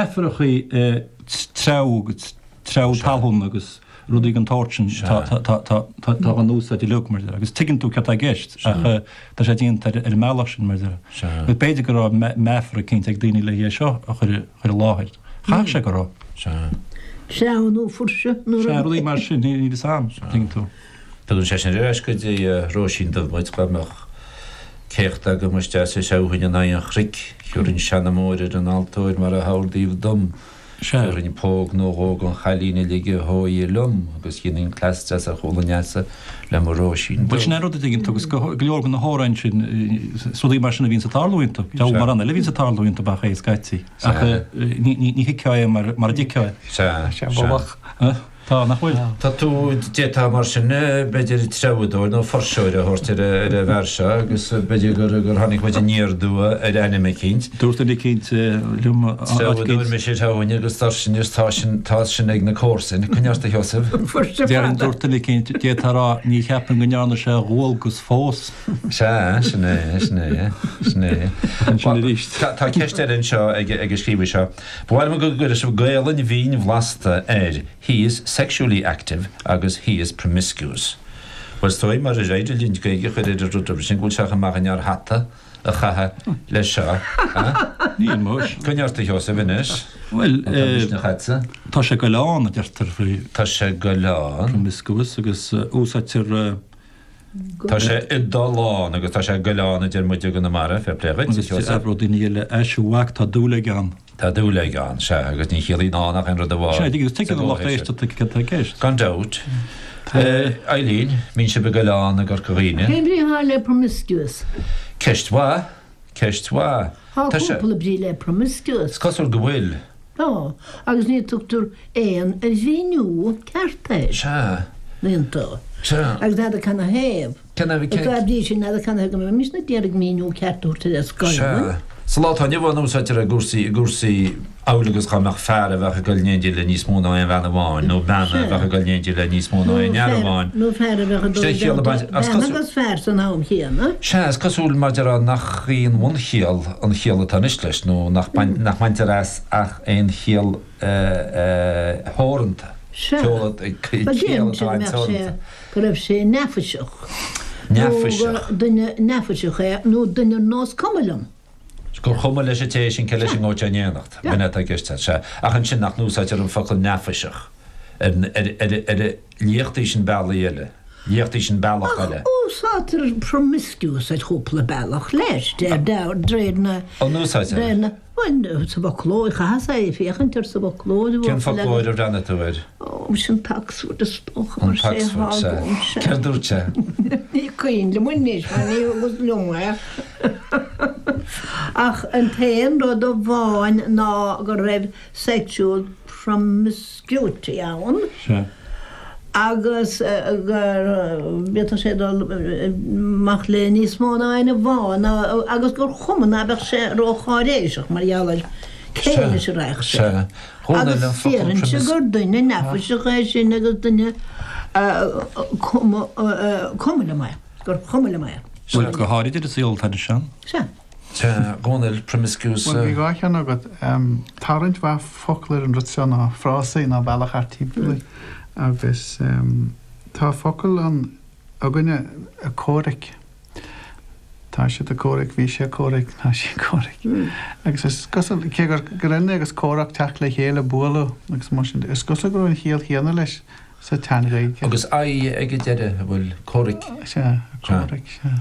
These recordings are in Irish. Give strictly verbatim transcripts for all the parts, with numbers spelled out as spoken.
Meafarachaí treabhadh treabhadh talún agus rudaí den tsórt sin tá an úsáid uilig mar agus tuigeann tú cad tá i gceist ach tá sé déanta ar an mbealach sin mar Agus b'fhéidir go raibh meafar eicínt ag daoine le é seo a chur chur i láthair. Chaithfeadh sé go raibh. Treabhadh nó fuirseadh nó Sea rudaí mar sin níl fhios a'm, tuigeann tú. Tugann sé sin ar ais go dtí Róisín Dubh muid, dá mbeadh céacht agam isteach sa seabhainn in aghaidh an chnoic, thiúrfainn seanamóir ar an altóir mar a hordaíodh dom, Sea. thiúrfainn póg nó dhó don chailín uilig a hóighe liom agus dhéanfainn cleas deas ar chúl an easa le mo Róisín Bhuel Dubh. sin é an rud a dtuigeann tú agus go go leor de na hamhráin sin, is rudaí mar sin a bhíonns ag tarlú iontu. Deabhal Sea. mórán eile a bhíonns ag tarlú iontu ach é scaití. Ach Sea. ní ní ní thuigfeá é mar mar a dtuigfeá é. Sea, Sé sea. bholach. Tá, nach bhfuil? Tá tú, d'fhéadfá mar sin, b'fhéidir, treabhadóir nó fuirseoir a thabhairt ar an bhfear seo agus b'fhéidir gur gur tháinig muid aniar aduaidh ar ainm eicínt. Dúirt duine eicínt liom áit Treabhadóir eicínt. mise ar thomhain agus dar sin is tá sin, tá sin ag na comharsain. Coinnigh ort a Sheosaimh. Fuirse Déarfainn, fada. dúirt duine eicínt, d'fhéadfá a rá, ní cheapaim go ndearna sé a dhualgas fós. Sea, sin é, sin é, sin é. Ansin arís. Tá tá ceist eile anseo ag ag an scríobhaí seo. Ba mhaith liom go gcuirfeadh sibh Gaolainn mhín bhlasta ar he is sexually active agus he is promiscuous. Bhuel, is dóigh mar ar éirigh linn Gaeilge a chur ar an rud roimhe sin go bhfuil sé chomh maith an fhear hata a chaitheamh leis seo, ha? Níl muis. Coinnigh ort a Sheosaimh anois. Bhuel, Má tá misneach agatsa. tá sé goileán, a deirtear faoi. Tá sé goileán. Promiscuous agus úsáidtear. Tá sé i dtollán agus tá sé goileán a deir muid i gConamara, fair play dhuit, a Agus Sheosaimh. abródh daoine eile, a mhac, tá dúil aige ann. Tá dúil aige ann, sea, agus ní chiallaíonn ann ach aon rud amháin. Sea, agus sa tuigeann an lucht gcomhthéacs sin. éisteachta cad tá i gceist. Gan dabht. Eileen, mbíonn sibh ag goileán i gCorca Dhuibhne? Cén bhrí atá le promiscuous? Ceist mhaith. Ceist mhaith. Tá Tá sé. cúpla brí le promiscuous. Is cosúil go bhfuil. Tá, agus ní tugtar aon mhíniú ceart air. Sea. Iontu. Sea. Agus n'fheadar canathaobh. Canathaobh, Is dá bhrí sin n'fheadar canathaobh go mbeidh mise ag iarraidh míniú ceart a thabhairt ar an scoil. Sea. Sa lá atá inniu ann úsáidtear i gcúrsaí, i gcúrsaí amhail agus dhá mbeadh fear a bheadh ag dul in éindí le níos mó ná aon bhean amháin, nó bean a bheadh ag dul in éindí le níos mó ná aon fhear amháin. Nó fear a bheadh ag dul Sin é i chiall a dteannta baint, as bean cosúil. agus fear san am chéanna. Sea, is cosúil mar déarfá nach í an bhunchiall an chiall atá anois leis, nó nach baint, nach mbaintear as ach aon chiall theoranta. Sea. Ceol, Ba ciall deireann sé atá go mbeadh sé, an-teoranta. go raibh sé neafaiseach. Nó Neafaiseach. gur duine neafaiseach é, nó duine ar nós cuma liom. Gur chuma leis an té sin cé leis an ngabhfaidh sé in éineacht. B'in é atá i gceist, sea. Ach ansin nach n-úsáidtear an focal neafaiseach ar ar ar ar liachtaí sin bealaí eile, liachtaí sin bealach Ach eile. úsáidtear promiscuous ar chúpla bealach leis, de réir na. An úsáidtear? Réir na. Bhuel, sa bhfoclóir, chaitheas é féachaint air sa bhfoclóir. Cén foclóir a bhreathnaigh tú air? Ó, sin Oxford is dócha, An mar sé tOxford, sea. atá agam, sea. Céard dúirt sé? Ní cuimhin liom anois, mar ní thugas liom é. Ach an t-aon rud amháin ná go raibh sexual promiscuity ann. Sea. Agus gur bhféadfadh sé dul amach le níos mó ná aon amháin agus gur chuma ná beadh sé rócháiréiseach mar gheall ar cé leis a raghadh sé. Sea. Agus déarfainnse gur duine neafaiseach é sin agus duine cuma cuma liom é, gur chuma liom é. Bhuel, go háirid ar an saol atá anois ann. Sea. Sea, Dhónaill, promiscuous. Bhuel, bhí dhá cheann agat. Tá roinnt mhaith focal ar an rud seo ná frásaí ná bealach thart timpeall air. Agus tá focal ann againne, ag comhrac. Tá siad ag comhrac, bhí sé ag comhrac, tá sí ag comhrac. Agus is cosúil, cé gur gur ionann agus comhrac teacht le chéile, bualadh agus mar sin de, is cosúil go raibh an chiall chéanna leis sa tSean-Ghaeilge. Agus aghaidh ag an deireadh, an bhfuil comhraic? Sea, comhraic, sea.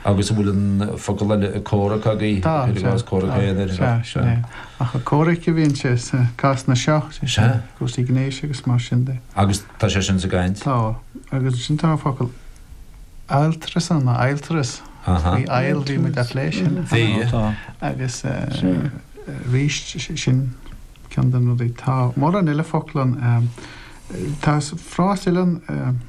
Agus an bhfuil an focal eile ag comhrac agaibh? Tá, Cuir i sea, gcás comhrac tá, aonair. sea, sin é. Ach ag comhraic a bhíonn sé sa cásanna seo, sé sin, Sea. cúrsaí gnéis agus mar sin de. Agus tá sé sin sa gcaint? Tá. Agus ansin tá an focal adhaltras ann, nó adhaltras. Aha. Faoi adhall, bhí muid á phlé sin. Bhí. Tá. Agus arís, sin ceann de na rudaí. Tá mórán eile focal ann. Tá frása eile ann,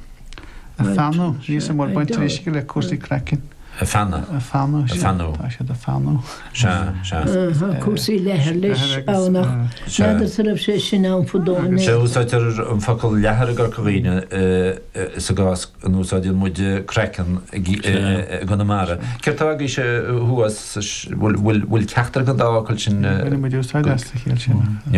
ag feannadh, níl a fhios agam an bhfuil baint arís aige le cúrsaí craicinn. Ag feannadh. Ag feannadh, Ag sea. feannadh. Tá siad ag feannadh. Sea, sea. Tá cúrsaí leathair leis ann ach n'fheadar an raibh sé sin ann fadó in Sea, Éirinn. úsáidtear an focal leathar i gCorca Dhuibhne sa gcás a n-úsáideann muid craiceann i gConamara. Céard tá agaibhse thuas, bhfuil ceachtar den dá fhocal sin? Baineann muid úsáid as sa chiall sin.